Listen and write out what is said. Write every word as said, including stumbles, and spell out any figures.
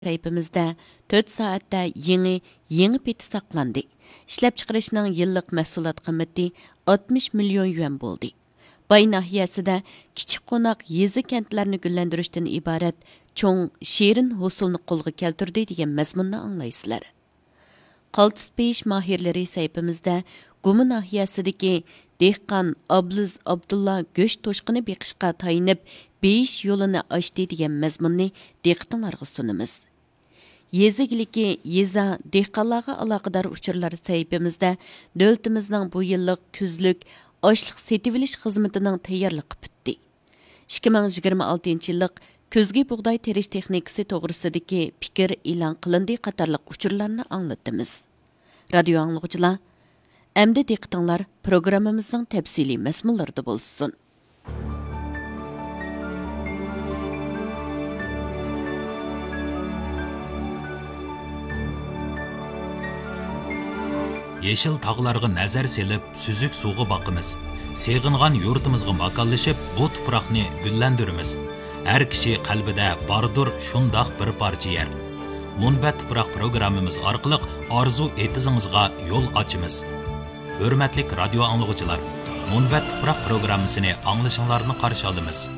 سەھىپىمىزدە تۆت سائەتتە يېڭى، يېڭى پېتى ساقلاندى. ئىشلەپچىقىرىشنىڭ يىللىق مەھسۇلات قىممىتى ئاتمىش مىليون يۈەن بولدى. باي ناھىيەسىدە كىچىك قوناق يېزا، كەنتلەرنى گۈللەندۈرۈشتىن ئىبارەت چوڭ شېرىن ھوسۇلنى قولغا كەلتۈردى دېگەن مەزمۇننى ئاڭلايسىلەر. قالتىس پېيىش ماھىرلىرى سەھىپىمىزدە گۇما ناھىيەسىدىكى دېھقان ئابلىز ئابدۇللا گۆش توشقىنى بېقىشقا تايىنىپ، بېيىش يولىنى ئاچتى دېگەن مەزمۇننى دىققىتىڭلارغا سۇنىمىز. يېزا ئىگىلىكى، يېزا، دېھقانلارغا ئالاقىدار ئۇچۇرلار سەھىپىمىزدە دۆلىتىمىزنىڭ بۇ يىللىق كۈزلۈك ئاشلىق سېتىۋېلىش خىزمىتىنىڭ تەييارلىقى پۈتتى. ئىككى مىڭ يىگىرمە ئالتىنچى يىللىق كۈزگى بۇغداي تېرىش تېخنىكىسى توغرىسىدىكى پىكىر ئېلان قىلىندى قاتارلىق ئۇچۇرلارنى ئاڭلىتىمىز. رادىيو ئاڭلىغۇچىلار، ئەمدى دىققىتىڭلار پروگراممىمىزنىڭ تەپسىلىي مەزمۇنلىرىدا بولسۇن. يېشىل تاغلارغا نەزەر سېلىپ، سۈزۈك سۇغا باقىمىز. سېغىنغان يۇرتىمىزغا ماكانلىشىپ، بۇ تۇپراقنى گۈللەندۈرىمىز. ھەر كىشى قەلبىدە باردۇر شۇنداق بىر پارچە يەر. مۇنبەت تۇپراق پروگراممىمىز ئارقىلىق ئارزۇ ئېتىزىڭىزغا يول ئاچىمىز. ھۆرمەتلىك رادىيو ئاڭلىغۇچىلار، مۇنبەت تۇپراق پروگراممىسىنى ئاڭلىشىڭلارنى قارشى ئالىمىز.